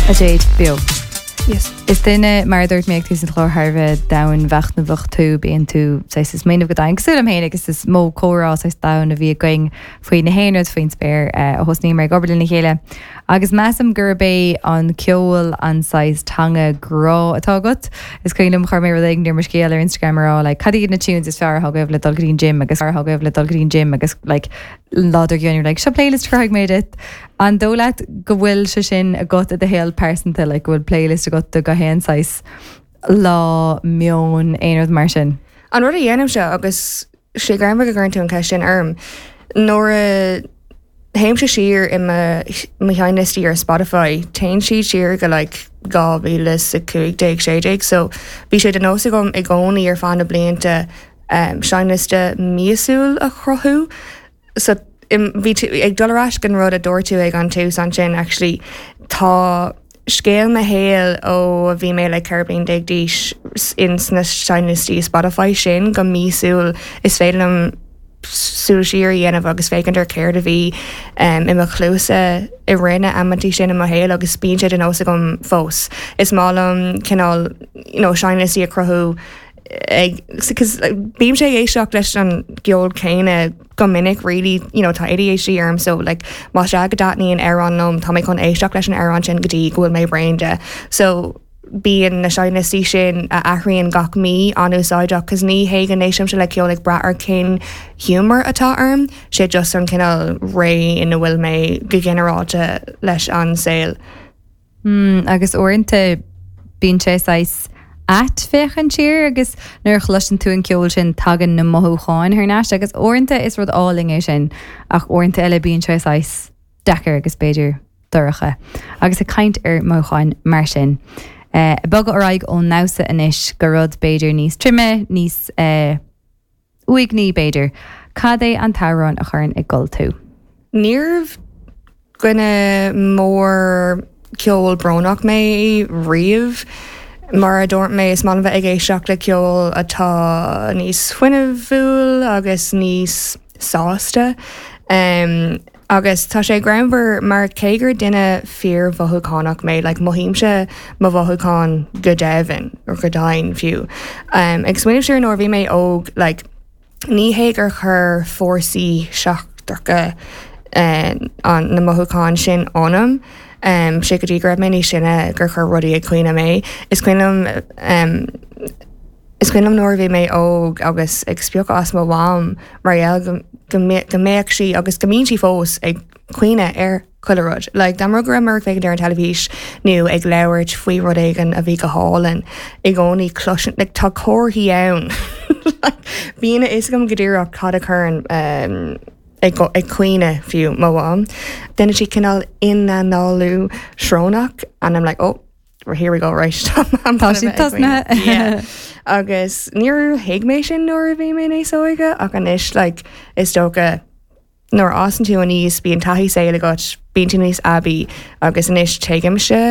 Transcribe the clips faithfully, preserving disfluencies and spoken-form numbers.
A Jade beo. Yes. Is duine mar a dúirt mé ag tús an chláir thar a bheith domhainmhachnamhach tú bíonn tú saghas ag smaoineamh go domhain cosúil liom féin agus is mó comhrá saghas domhain a bhí againn faoi na haon rud faoin spéir ó thosnaíomar ag obair lena chéile. Agus measaim gurb é an ceol an saghas teanga grá atá agat. Is cuimhin liom chuir mé rud éigin ar mo scéal ar Instagram ar rá like, cad iad na tunes is fearr a agaibh le dul go dtí an gym agus fearr agaibh le dul go dtí an gym agus like, lá dár gcionn like, seo playlist chuirfidh mé duit. An dóigh leat go bhfuil sé sin agat i do shaol pearsanta like, go bhfuil playlist agat do gach aon saghas lá meon aon rud mar sin. An rud a dhéanaim seo agus sé greannmhar go gcuireann tú an ceist sin orm nuair a théimse siar i mo sheinnliostaí ar Spotify, téann siad siar go like dhá mhíle a cúig déag sé déag, so bhí sé de nós agam i gcónaí ar feadh na blianta um, seinnliosta míosúil a chruthú. So bhí ag dul ar ais an rud a dúirt tú ag an tús ansin actually tá scéal mo shaoil ó bhí mé le ceithre bliana déag d'aois in sna seinnliostaí Spotify sin go míosúil is féidir liom súil siar a dhéanamh agus féachaint ar céard a bhí um, i mo chluasa i rith na amanta sin i mo shaol agus bíonn sé de nós agam fós. Is maith liom cineál you know, seinnliostaí a chruthú ag bím sé éisteacht leis an gceol céanna go minic really you know, tá ADHD orm so like má sé go dtaitníonn amhrán liom tá mé chun éisteacht leis an amhrán sin go dtí go bhfuil mé bréan de. So bíonn na seinnliostaí sin a athraíonn gach mí an-úsáideach, cos ní hé go n-éistimse le ceol ag brath ar cén giúmar atá orm, sé just an cineál ré ina bhfuil mé go ginearálta leis an saol. Mm, agus uaireanta bíonn sé saghas ait féachaint siar agus nuair a chloiseann tú an ceol sin tagann na mothúcháin thar n-ais agus uaireanta is rud álainn é sin ach uaireanta eile bíonn sé saghas deacair agus b'fhéidir dorcha. Agus ag caint ar mhothúcháin mar sin. Uh, bogadh ar aghaidh ón ndamhsa anois go rud b'fhéidir níos troime níos uh, uaigní b'fhéidir. Cad é an t-amhrán a chuireann ag gol tú? Níorbh dhuine mór ceol brónach mé riamh. Mar a dúirt mé is maith bheith ag éisteacht le ceol atá níos fuinniúil agus níos sásta. Um, agus tá sé greannmhar mar cé gur duine fíormhothúchánach mé, like, mothaímse mo mhothúcháin go deimhin or go domhain fiú. Um, ag smaoineamh siar nuair bhí mé óg like, ní hé gur chuir fórsaí seachtracha uh, an na mothúcháin sin ionam. Um, sé go dtí go raibh mé níos sine gur chuir rudaí ag caoineadh mé. Is cuimhin liom um, Is cuimhin liom nuair bhí mé óg agus ag spiocadh as mo mham mar gheall go go mbeadh sí agus go mbíonn sí fós ag caoineadh ar chuile rud. Like, dá mba go raibh féachaint ar an teilifís nó ag labhairt faoi rud éigin a bhí go hálainn i gcónaí cloisim like, tá comharthaí ann. Bíonn a fhios agam go díreach cad a chuireann um, ag ag caoineadh fiú mo mham. Déanann sí cineál ionanálú srónach and I'm like, oh, here we go right Tá sí tosnaithe. agus níor thuig mé sin nuair a bhí mé níos óige ach anois like, is dócha nuair a fhásann tú aníos bíonn taithí saoil agat bíonn tú níos aibí agus anois tuigimse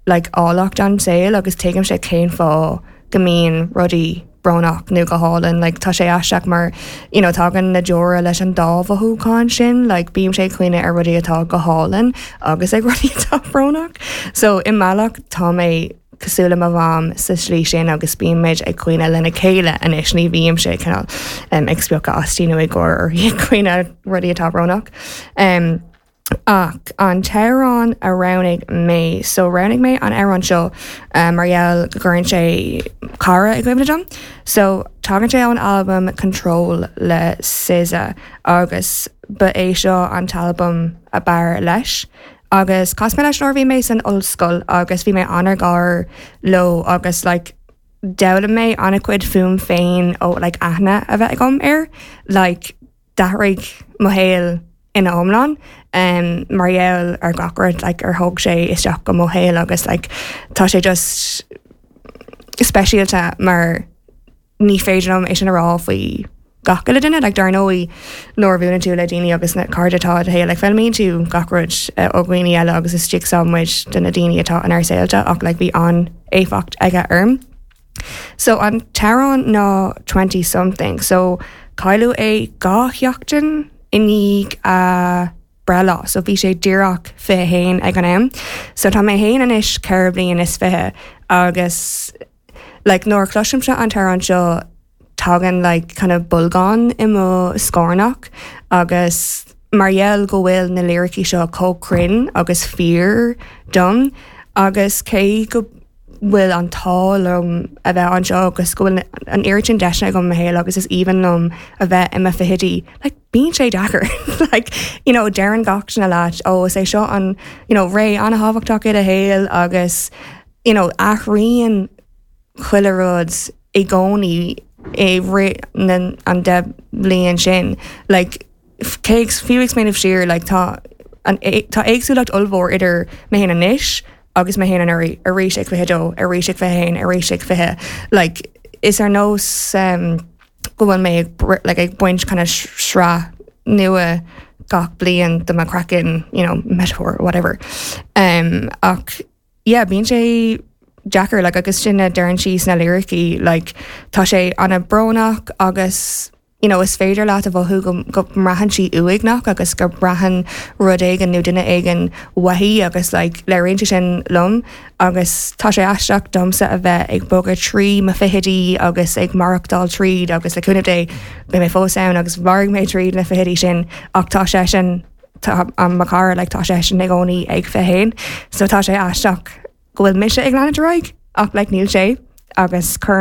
like, áilleacht an saoil agus tuigimse cén fáth go mbíonn rudaí brónach nó go hálainn like, tá sé aisteach mar you know, tagann na deora leis an dá mhothúchán sin like, bím sé caoineadh ar rudaí atá go hálainn agus ag rudaí atá brónach. So i mbealach tá mé cosúil le mo mham sa slí sin agus bímid ag caoineadh lena chéile anois ní bhím sé cineál um, ag spiocadh aisti nó ag gáire uirthi ag caoineadh rudaí atá brónach. Um, ach an t-amhrán a roghnaigh mé so roghnaigh mé an amhrán seo um, mar gheall go gcuireann sé cara i gcuimhne dom. So tagann sé ón album Control le SZA agus ba é seo an t-album ab fhearr leis. Agus chas mé leis nuair bhí mé san ollscoil agus bhí mé an-ar gar leo agus like, d'fhoghlaim mé an-chuid fúm féin ó like, aithne a bheith agam air, like, d'athraigh mo shaol ina iomlán um, mar gheall ar gach rud like, ar thóg sé isteach go mo shaol agus like, tá sé just speisialta mar ní féidir liom é sin a rá faoi gach uile duine like, dar ndóigh nuair a bhuaileann tú le daoine agus na cairde atá i do shaol like, foghlaimíonn tú gach rud uh, ó dhaoine eile agus is jigsaw muid de na daoine atá inár saolta ach like, bhí an-éifeacht aige orm. So an t-amhrán ná twenty something, so cailleadh é dhá sheachtain i ndiaidh a breithlá, so bhí sé díreach fiche haon ag an am. So tá mé féin anois ceithre bliana is fiche agus like, nuair chloisimse an t-amhrán seo tagann like, kind of bolgán i mo scornach agus mar gheall go bhfuil na liricí seo chomh cruinn agus fíor dom agus cé go bhfuil an t-ádh liom a bheith anseo agus go bhfuil an oiread sin deiseanna agam i mo shaol agus is aoibhinn liom a bheith i mo fichidí like, bíonn sé deacair like, you know, deireann gach duine leat ó is é seo an you know, ré an-thábhachtach i do shaol agus you know, athraíonn chuile rud i gcónaí i rith an deich bliain sin like, cé fiú ag smaoineamh siar like, tá an tá éagsúlacht ollmhór idir mé féin anois agus mé féin anuraidh arís ag fiche dó arís ag fiche haon arís ag fiche like is ar nós um, go bhfuil mé ag like, ag baint kind of sraith nua gach bliain de mo chraiceann you know, metaphor whatever um, ach yeah, bíonn sé deacair like, agus sin a deireann sí sna liricí like, tá sé an-bhrónach agus you know, is féidir leat a mhothú go, go mbraitheann sí uaigneach agus go mbraitheann rud éigin nó duine éigin uaithi agus like, léiríonn sé sin liom agus tá sé aisteach domsa a bheith ag bogadh trí mo fichidí agus ag maireachtáil tríd agus le cúnamh Dé beidh mé fós ann agus mairfidh mé tríd na fichidí sin ach tá sé sin tá an mo chara like, tá sé sin i gcónaí ag fiche haon, so tá sé aisteach go bhfuil mise ag leanúint ar aghaidh ach like, níl sé agus chur